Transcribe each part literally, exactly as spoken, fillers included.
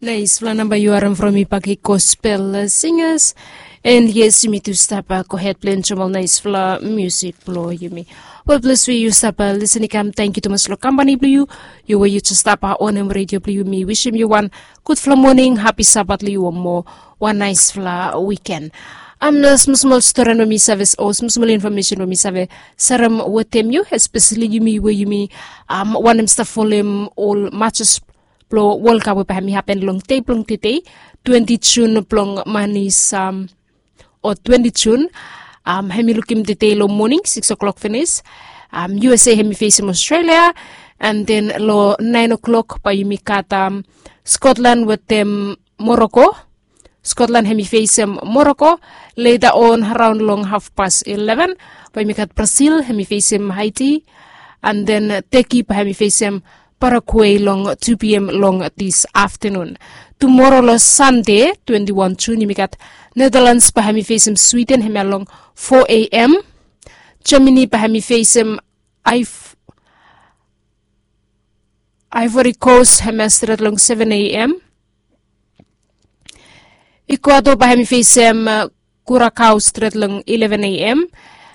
Naisfala namba yu harem from mi Paki Gospel Singers. And yes, yumi tu stap gohed blong enjoem ol naisfala musik blong yumi. Wel, ples we yu stap lisin i kam, tangkiu tumas long kampani blong yu. Yu we yu jes stap onem redio blong yu, mi wisim yu wan gudfala moning, hapi Sabat long yu, o moa wan naisfala wiken. Am na smosmol stori we mi save, o smosmol infomesen we mi save serem wetem yu, espeseli yumi we yumi am wantem stap folem ol matches blong World Cup we bae hem i hapen long dei blong tedei, twenti Jun blong man i sam, o twenti Jun. Am hem i lukim tedei long moning sikis o'clock finis. Am U S A hem i fesem Australia, and then long naen o'clock bae yumi gat am Scotland wetem Morocco. Scotland hem i fesem Morocco. Later on, raon long hafpas ileven, bae yumi gat Brazil hem i fesem Haiti, and then Turkey bae hem i fesem Paraguay long tu P M long this afternoon. Tumora long Sande, twenti wan Jun, yumi gat Netherlands bae hem i fesem Sweden hemia long four A M. Germany bae hem i fesem Iv- Ivory Coast hemia stret long seven A M. Ecuador bae hem i fesem Curacao stret long eleven A M.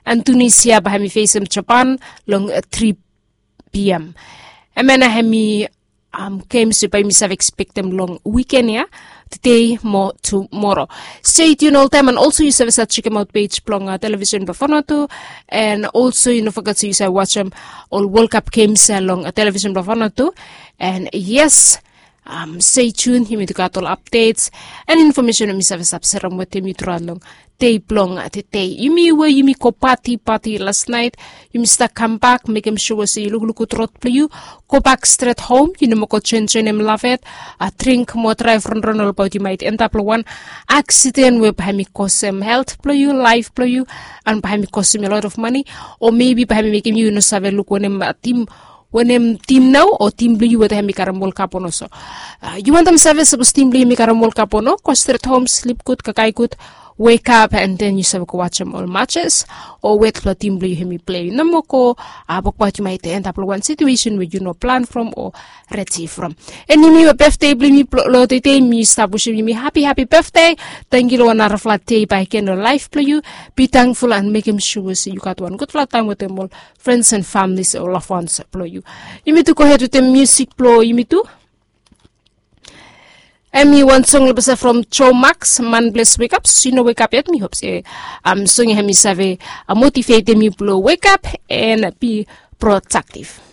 And Tunisia bae hem i fesem Japan long three P M. Hemia nao hem i am gems we bae yumi save ekspektem long wiken ya, tedei mo tumora. Stay tuned oltaem, and also yu save save jekemaot pej blong televisen blong Vanuatu. And also yu no foget se yu save wajem ol World Cup gems ya long televisen blong Vanuatu. And yes, am stay tuned, yumi tu gat ol updates and infomesen we mi save stap serem wetem yu truaot long dei blong tedei. Yumi we yumi go pati pati las naet, yumi stap kambak, mekem sua se yu lukluk gud rod blong yu, gobak stret hom, yu no moa go joenjoenem lafet, dring moa, draev ronron, olbaot yu maet endap long wan aksiden we bae hem i kosem helt blong yu, laef blong yu, and bae hem i kosem yu a lot of mane, o mebi bae hem i mekem yu no save luk wanem tim wanem tim nao, o tim blong yu weta hem i karem World Cup o no. So yu wantem save sapos tim blong yu hem i karem World Cup o no, go stret hom, slip gud, kakae gud, wekap, and then yu save go wajem ol matches o wet blong tim blong yu hem i plei. Yu no moa go, bikos yu maet endap long wan situesen we yu no plan from o redi from. And yumi we betde blong yumi long tedei, mi stap wisim yumi hapi hapi betde. Tangkiu long wan narafala dei bakegen long laef blong yu. Be tangful and mekem sua se yu gat wan gudfala taem wetem ol friends and families o loved ones blong yu. Yumi tu gohed wetem musik blong yumi tu. Hem i wan song long basa from Joe Max, Man Bless Wake Up. Sapos yu no wekap yet, mi hop se am song ya hem i save motivetem yu blong wekap and be productive.